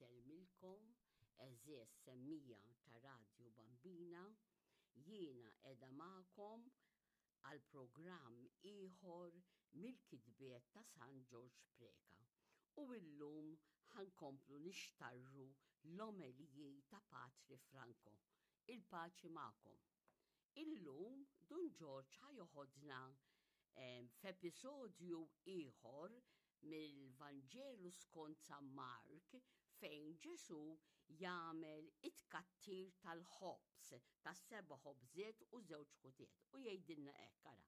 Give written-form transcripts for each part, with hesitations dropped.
Insellmilkom għeżież semmija ta' Radju Bambina, jiena qiegħda magħkom għal programm ieħor mill-kitbiet ta' San Ġorġ Preca. U illum ħa nkomplu nixtarru l-omeliji ta' Patri Franco. Il-paċi magħkom. Illum Dun Ġorġ ħa joħodna f'episodju ieħor mill-Vanġelu skont San Mark fejn Ġesù jagħmel it-tkattir tal-ħobż, tas-seba' ħobżiet u żewġ ħutiet. U jgħidilna hekk, ara,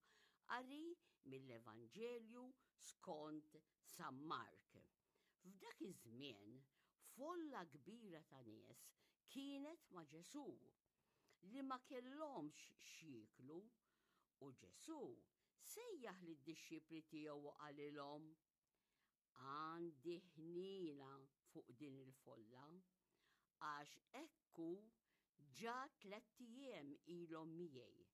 qari mill-Evanġelju skont San Mark. F'dak iż-żmien, folla kbira ta' nies kienet ma' Ġesù li ma kellhomx x'jieklu, u Ġesù sejjaħ lid-dixxipli tiegħu u qalilhom, Għandi ħniena fuq din il-folla, għax hekk hu ġa tlett ijiem ilhom miegħi,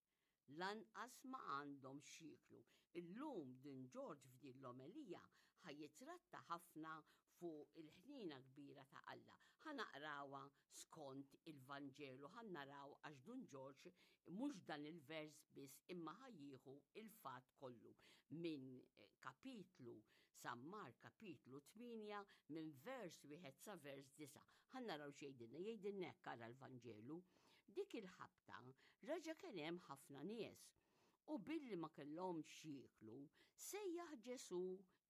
lanqas ma għandhom x'jieklu. Illum Dun Ġorġ f'din l-omelija ħa jitratta ħafna fuq il-ħniena kbira ta' Alla. Ħa naqrawha skont il-Vanġelu, ħa naraw għax Dun Ġorġ mhux dan il-vers biss imma ħa jieħu il-fatt kollu minn kapitlu San Mark kapitlu 8 minn vers wieħed sa vers 9. Ħa naraw x'jgħidilna, jgħidilna hekk ara l-Vanġelu. Dik il-ħabta reġa' kien hemm ħafna nies, u billi ma kellhomx x'jieklu, sejjaħ Ġesù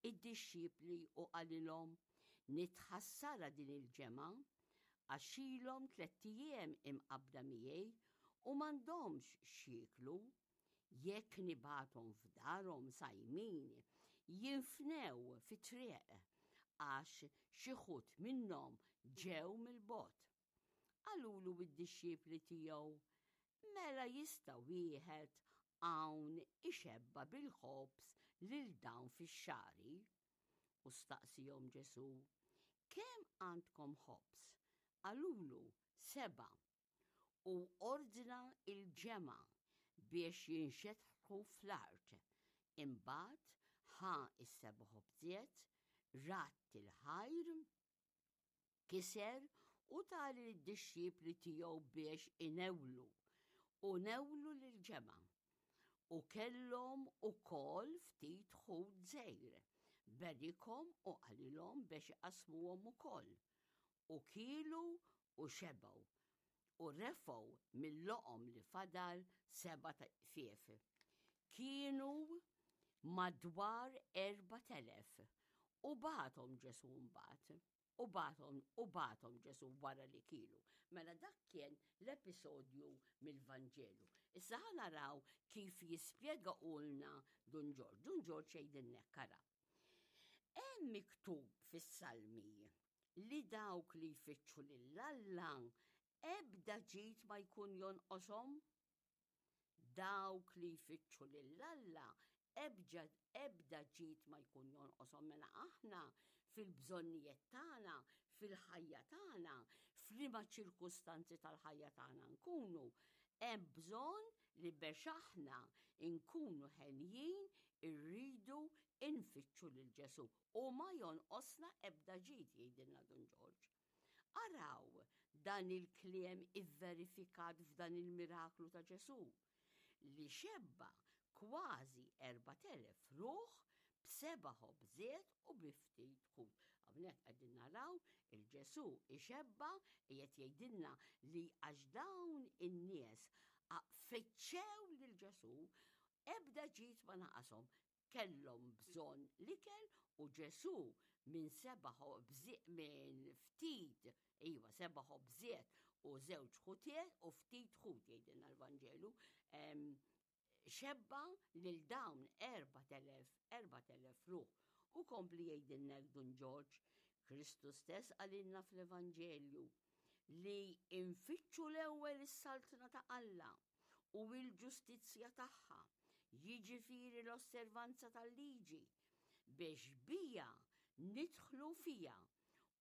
id-dixxipli u qalilhom, Nitħassarha din il-ġemgħa, għax ilhom tlett ijiem imqabbda miegħi u m'għandhomx x'jieklu. Jekk nibgħathom f'darhom sajmin, jinfnew fit-triq, għax xi ħud minnhom ġew mill-bogħod. Qalulu d-dixxipli tiegħu, Mela jista' wieħed hawn ixebba' bil-ħobż lil dawn fix-xagħri? U staqsihom Ġesù, Kemm għandkom ħobż? Qalulu, Sebgħa. U ordna l-ġemgħa biex jinxetħu fl-art. Imbagħad ħa s-seba' ħobżiet, radd il-ħajr, Kiser u ta lid-dixxipli tiegħu biex inewlu, u newlu lill-ġemgħa. U kellhom ukoll ftit ħut żgħir. Berikhom u qalilhom biex iqassmuhom ukoll. U kielu u xebgħu, u refgħu mill-loqom li fadal sebat iqfief. Kienu madwar 4,000. U bagħathom Ġesù mbagħad. U bagħathom u bagħathom Ġesù wara li kielu. Mela dak kien l-episodju mill-Vanġelu. Issa ħa naraw kif jispjega ulna Dun Ġorġ. Dun Ġorġ jgħidilna hekk ara. Hemm miktub fis-Salmi li dawk li jfittxu lil Alla ebda ġid ma jkun jonqoshom. Dawk li jfittxu lil Alla ebda ebda ġid ma jkun jonqoshom mela aħna fil-bżonnijiet tagħna, fil-ħajja tagħna, f'liema ċirkustanzi tal-ħajja tagħna nkunu, hemm bżonn li biex aħna nkunu henjin irridu nfittxu lil Ġesù u ma jonqosna ebda ġid jgħidilna Dun Ġorġ. Araw dan il-kliem ivverifikat f'dan il-miraklu ta' Ġesù li xebba kważi 4,000 ruħ b'seba' ħobżiet u bi ftit ħut. Hawnhekk qegħdin naraw il-Ġesù ixebba qiegħed jgħidilna li għax dawn in-nies fittxew lil Ġesù ebda ġid ma naqashom kellhom bżonn l-ikel u Ġesù minn seba' ħobżiet minn ftit, iva seba' ħobżiet u żewġ ħutiet u ftit ħut jgħidilna l-Vanġelu, xebba lil dawn 4000 4000 ruħ. U kompli jgħidilna Dun Ġorġ, Kristu stess qalilna fl-Evanġelju li infittxu l-ewwel is-saltna ta' Alla u l-ġustizzja tagħha, jiġifieri l-osservanza tal-liġi, biex bija nidħlu fiha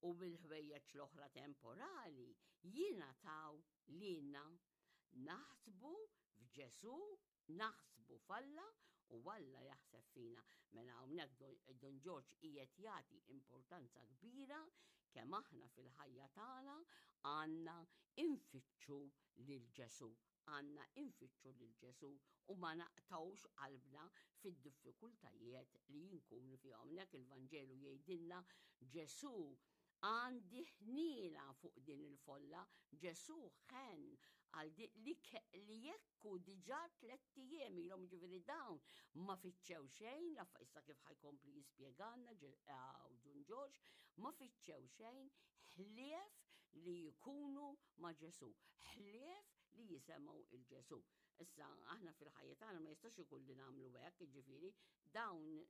u bil-ħwejjeġ l-oħra temporali jingħataw lilna. Naħsbu f'Ġesù, naħsbu f'Alla u Alla jaħseb fina. Mela hawnhekk Dun Ġorġ qiegħed jagħti importanza kbira. Kemm aħna fil-ħajja tagħna għandna infittxu lil Ġesù, għandna infittxu lil Ġesù u ma naqtgħux qalbna fid-diffikultajiet li jinkunu fihom. Hawnhekk il-Vanġelu jgħidilna Ġesù għandi ħniena fuq din il-folla, Ġesù ħenn għal li, li jekku diġà tlett ijiem ilhom ġifieri dawn ma fittxew xejn, la issa kif ħajkompli jispjegalna Dun Ġorġ, ma fittxew xejn ħlief li jkunu ma' Ġesù, ħlief li jisemgħu il Ġesù. Issa aħna fil-ħajja tagħna ma jistax ikun li nagħmlu hekk, jiġifieri dawn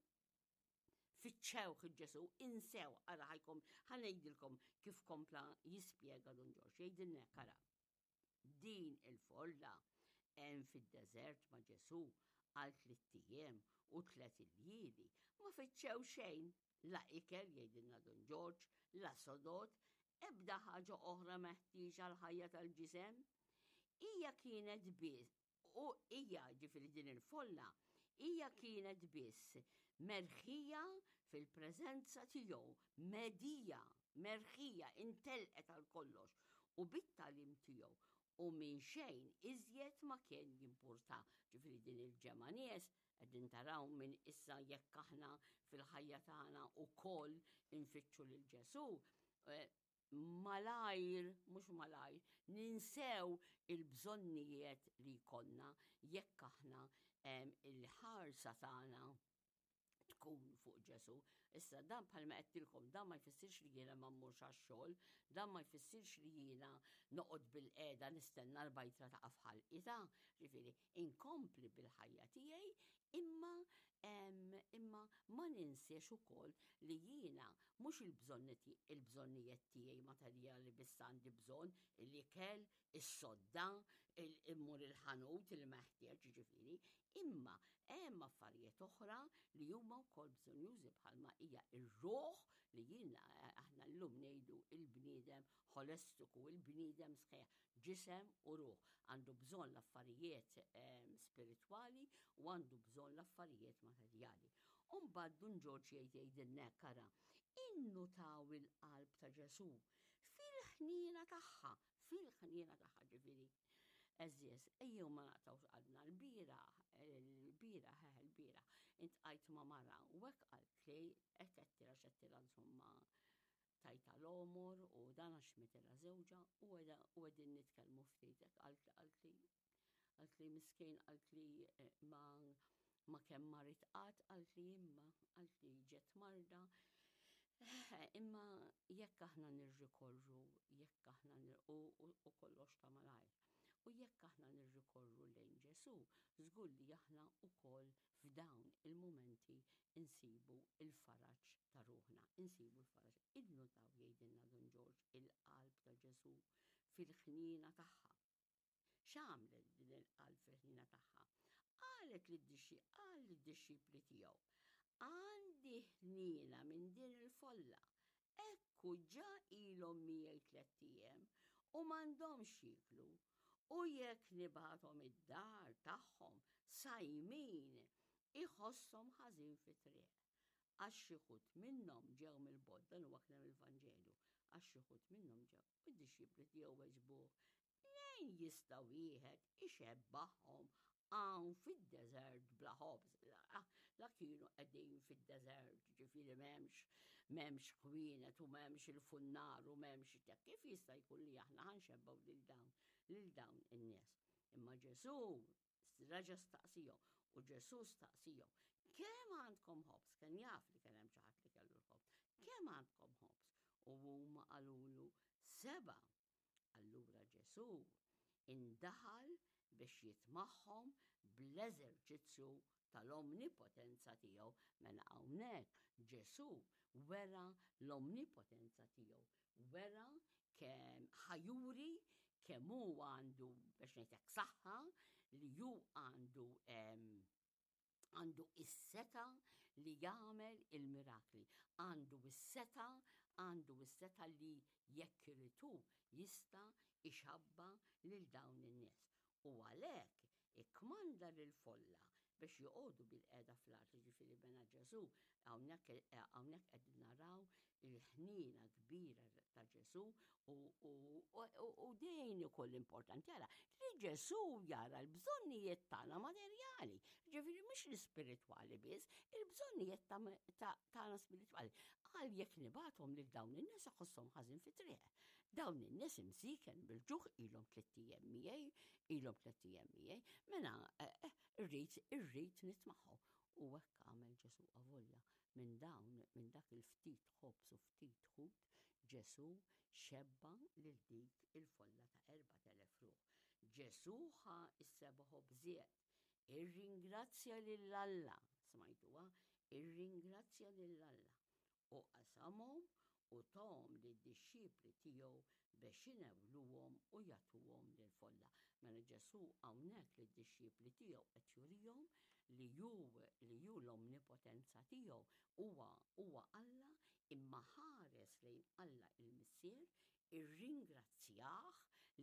fittxewh il-Ġesù, insew, ara ħajkom, ħanejdilkom kif kompla jispjega Dun Ġorġ, jgħidilna hekk ara. Din il-folla hemm fid-deżert ma' Ġesù għal tlitt ijiem u tliet iljieli, ma fittxew xejn, la ikel, jgħidilna Dun Ġorġ, la sodod, ebda ħaġa oħra meħtieġa għall-ħajja tal-ġisem. Hija kienet biss, u hija, ġifieri din il-folla, hija kienet biss merħija fil-preżenza tiegħu, medija, merħija, intelqet għal kollox, u bit-tagħlim tiegħu, u minn xejn iżjed ma kien jimpurta. Ġifieri din il-ġemgħa nies qegħdin taraw minn issa jekk aħna fil-ħajja tagħna wkoll infittxu lil Ġesù, eh, malajr, mhux malajr, ninsew il-bżonnijiet li jkollna jekk aħna il-ħarsa tagħna tkun fuq Ġesù. Issa dan bħalma għedtilkom dan ma jfissirx li jiena ma mmurx għax-xogħol, dan ma jfissirx li jiena noqgħod bil-qiegħda nistenna l-bajtra ta' f'ħalqi ta' ġifieri inkompli bil-ħajja tiegħi imma imma ma ninsiex ukoll li jiena mhux il-bżonnijiet tiegħi materjali biss għandi bżonn, l-ikel, is-sodda, immur il-ħanut il-meħtieġ ġifieri, imma hemm affarijiet oħra li huma wkoll bżonjużi bħalma hija r-ruħ li jiena aħna llum ngħidu il-bniedem ħolestiku, il-bniedem sħiħ, ġisem u ruħ. Għandu bżonn l-affarijiet ehm, spiritwali u għandu bżonn l-affarijiet materjali. U mbagħad Dun Ġorġ jgħid jgħidilna hekk ara, innutaw il-qalb ta' Ġesù fil-ħniena tagħha, fil-ħniena tagħha ġifieri. Eżjeż, ejjew ma naqtgħux qalbna l-bieraħ, l-bieraħ, eh, l-bieraħ, intqajt ma' mara u hekk qaltli, hekk għedtilha x'għedtilha insomma tajtha l-għomor u dan għax mitilha żewġha u qegħdin nitkellmu ftit hekk qaltli qaltli qaltli miskin qaltli eh, ma ma kemm marid qatt qaltli imma qaltli ġet marda eh, imma jekk aħna nirrikorru jekk aħna u, u kollox ta' malajr. U jekk aħna nirrikorru lejn Ġesù, żgur li aħna wkoll f'dawn il-mumenti insibu l-faraġ ta' ruħna, insibu l-faraġ. Innutaw jgħidilna Dun Ġorġ il-qalb ta' Ġesù fil-ħniena tagħha. X'għamlet din il-qalb fil-ħniena tagħha? Qalet qal lid-dixxipli tiegħu, Għandi ħniena minn din il-folla, Ekku ġa ilhom miegħi tlett ijiem u m'għandhomx x'jieklu, u jekk nibgħathom id-dar tagħhom sajmin iħosshom ħażin fit-triq. Għax xi wħud minnhom ġew mill-bogħod, dan huwa kliem il-Vanġelu, għax xi wħud minnhom ġew. U d-dixxipli tiegħu weġbuh, Mnejn jista' wieħed ixebbagħhom hawn fid-deżert bla ħobż? La kienu qegħdin fid-deżert, ġifieri m'hemmx m'hemmx ħwienet u m'hemmx il-funnar u m'hemmx kif jista' jkun li aħna ħanxebbgħu lil dawn lil dawn in-nies. Imma Ġesù reġa' staqsihom u Ġesù staqsihom, kemm għandkom ħobż? Kien jaf li kien hemm xi ħadd li kellu l-ħobż. Kemm għandkom ħobż? U huma qalulu sebgħa. Allura Ġesù indaħal biex jitmagħhom bl-eżerċizzju tal-omnipotenza tiegħu. Mela hawnhekk Ġesù wera l-omnipotenza tiegħu, wera kemm ħajuri kemm hu għandu biex ngħidlek saħħa li hu għandu Għandu is-setgħa li jagħmel il-mirakli. Għandu is-setgħa, għandu is-setgħa li jekk irid hu jista' ixabba' lil dawn in-nies. U għalhekk ikkmanda lill-folla biex joqogħdu bilqiegħda fl-art, jiġifieri mela Ġesù hawnhekk hawnhekk qegħdin naraw il-ħniena kbira ta' Ġesù u, u, u, u din ukoll importanti ara li Ġesù jara l-bżonnijiet tagħna materjali, ġifieri mhux l-ispiritwali biss, il-bżonnijiet tagħna spiritwali. Qal jekk nibgħathom lil dawn in-nies iħosshom ħażin fit-triq. Dawn in-nies imsiken bil-ġuħ ilhom tlett ijiem miegħi, ilhom tlett ijiem miegħi, mela eh, eh, irrid irrid nitmagħhom. U hekk għamel Ġesù avolja minn dawn minn dak il-ftit ħobż u ftit ħut Ġesù xebba' lil dik il-folla ta' 4000 ruħ. Ġesù ħa s-seba' ħobżiet, irringrazzja lil Alla, smajtuha, irringrazzja lil Alla, u qasamhom u tahom lid-dixxipli tiegħu bex inewluhom u jagħtuhom lill-folla. Mela Ġesù hawnhekk lid-dixxipli tiegħu qed jurihom li hu li hu l-omnipotenza tiegħu huwa huwa Alla imma ħares lejn Alla il-Missier irringrazzjah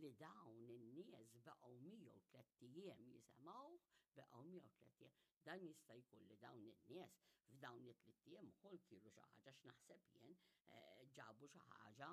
li dawn in-nies baqgħu miegħu tlett ijiem jisemgħuh, baqgħu miegħu tlett ijiem. Dan jista' jkun li dawn in-nies f'dawn it-tlitt ijiem ukoll kielu xi ħaġa x'naħseb jien eh, ġabu xi ħaġa,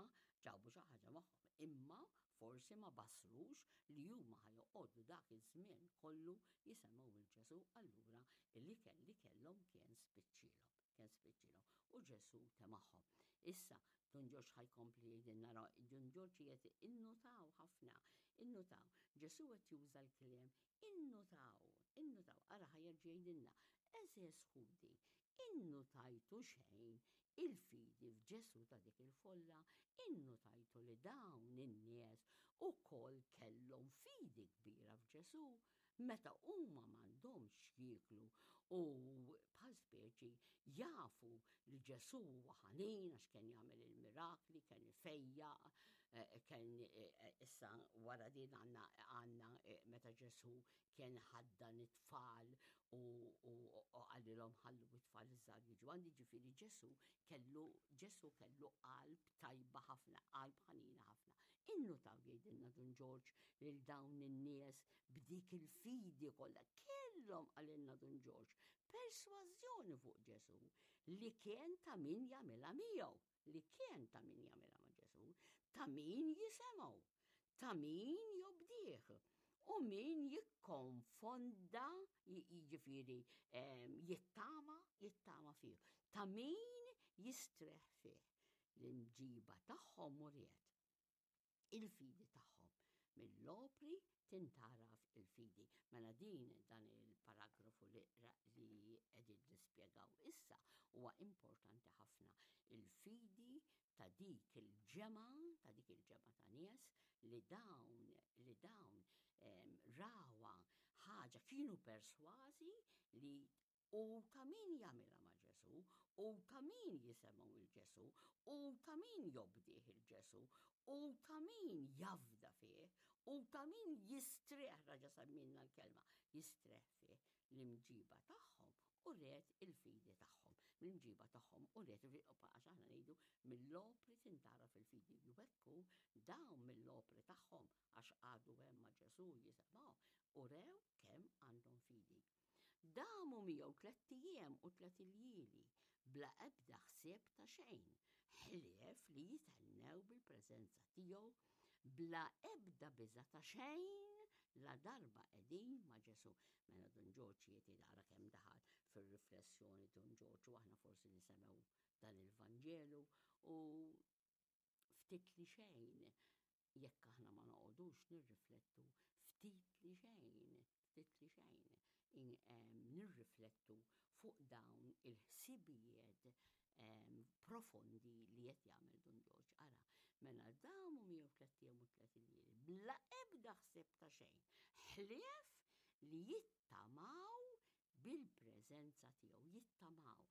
ġabu xi ħaġa magħhom. Imma forsi ma basrux li huma ħa joqogħdu dak iż-żmien kollu jisemgħu 'l Ġesù allura l-ikel li kellhom kien spiċċielhom, kien spiċċielhom. U Ġesù temagħhom. Issa, Dun Ġorġ ħa jkompli jgħidilna, ra, Dun Ġorġ qiegħed innutaw ħafna, innutaw. Ġesù qed juża l-kliem innutaw, innutaw. Ara ħa jerġa' jgħidilna, għeżież ħuti, innutajtu xejn il-fidi f'Ġesù ta' dik il-folla, innutajtu li dawn in-nies ukoll kellhom fidi kbira f'Ġesù meta huma m'għandhomx x'jieklu u bħal speċi jafu li Ġesù huwa ħanin għax kien jagħmel il-mirakli, kien ifejjaq, eh, kien eh, issa wara din għandna għandna eh, meta Ġesù kien ħaddan it-tfal u qalilhom ħallu it-tfal iż-żgħar jiġu għandi ġifieri Ġesù kellu Ġesù kellu qalb tajba ħafna, qalb ħanina ħafna. Innutaw jgħidilna Dun Ġorġ lil dawn in-nies b'dik il-fidi kollha kellhom qalilna Dun Ġorġ persważjoni fuq Ġesù li kien ta' min jagħmilha miegħu, li kien ta' min jagħmilha ma' Ġesù, ta' min jisemgħu, ta' min jobdih u min jikkonfonda, jiġifieri jittama, jittama fih, ta' min jistrieħ fih. L-imġiba tagħhom uriet il-fidi tagħhom. Mill-opri tintgħaraf il-fidi. Mela din dan il-paragrafu li li qegħdin nispjegaw issa huwa importanti ħafna. Il-fidi ta' dik il-ġemgħa, ta' dik il-ġemgħa ta' nies li dawn li dawn rawha ħaġa kienu persważi li u ta' min jagħmilha ma' Ġesù, u ta' min jisemgħu 'l Ġesù, u ta' min jobdih 'il Ġesù, u ta' min jafda fih, u ta' min jistrieħ, raġa' semmilna l-kelma, jistrieħ fih, l-imġiba tagħhom uriet il-fidi tagħhom. L-imġiba tagħhom uriet il-fidi, għax aħna ngħidu mill-opri tintgħaraf il-fidi. U hekk hu, dawn mill-opri tagħhom, għax qagħdu hemm ma' Ġesù jisemgħuh, urew kemm għandhom fidi. Damu miegħu tlett ijiem u tliet iljieli, bla ebda ħsieb ta' xejn, ħlief li jithennew bil-preżenza tiegħu, bla ebda biża' ta' xejn ladarba qegħdin ma' Ġesù. Mela Dun Ġorġ qiegħed jara kemm daħal fir-riflessjoni Dun Ġorġ u aħna forsi nisemgħu dan il-Vanġelu u ftit li xejn jekk aħna ma noqogħdux nirriflettu ftit li xejn, ftit li xejn, nirriflettu fuq dawn il-ħsibijiet profondi li qed jagħmel Dun Ġorġ. Ara, mela damu miegħu tlett ijiem u tliet iljieli bla ebda ħsieb ta' xejn, ħlief li jittamaw bil-preżenza tiegħu, jittamaw,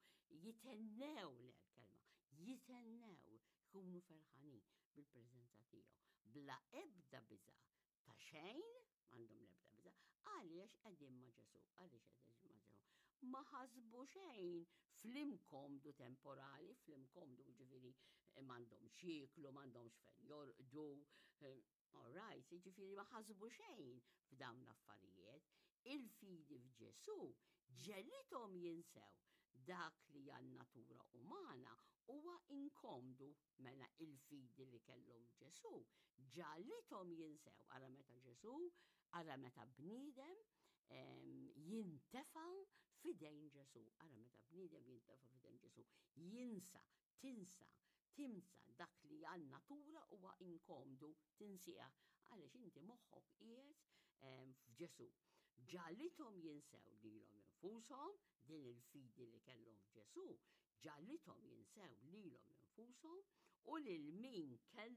jithennew le l-kelma, jithennew, jkunu ferħanin bil-preżenza tiegħu, bla ebda biża' ta' xejn, m'għandhom l-ebda biża', għaliex qegħdin ma' Ġesù, għaliex qegħdin ma' Ġesù. Ma ħasbu xejn fl-imkomdu temporali, fl-imkomdu ġifieri m'għandhomx jieklu, m'għandhomx fejn jorqdu, eh, all right, ġifieri ma ħasbu xejn f'dawn l-affarijiet. Il-fidi f'Ġesù Ġegħlithom jinsew dak li għan-natura umana huwa inkomdu, mela il-fidi li kellhom f'Ġesù ġagħlithom jinsew. Ara meta Ġesù, ara meta bniedem jintefa' f'idejn Ġesù, ara meta bniedem jintefa' f'idejn Ġesù, jinsa, tinsa, tinsa dak li għan-natura huwa inkomdu, tinsieh għaliex inti moħħok qiegħed f'Ġesù. Ġagħlithom jinsew lilhom infushom, din il-fidi li kellhom f'Ġesù, ġagħlithom jinsew lilhom infushom u lil min kellhom.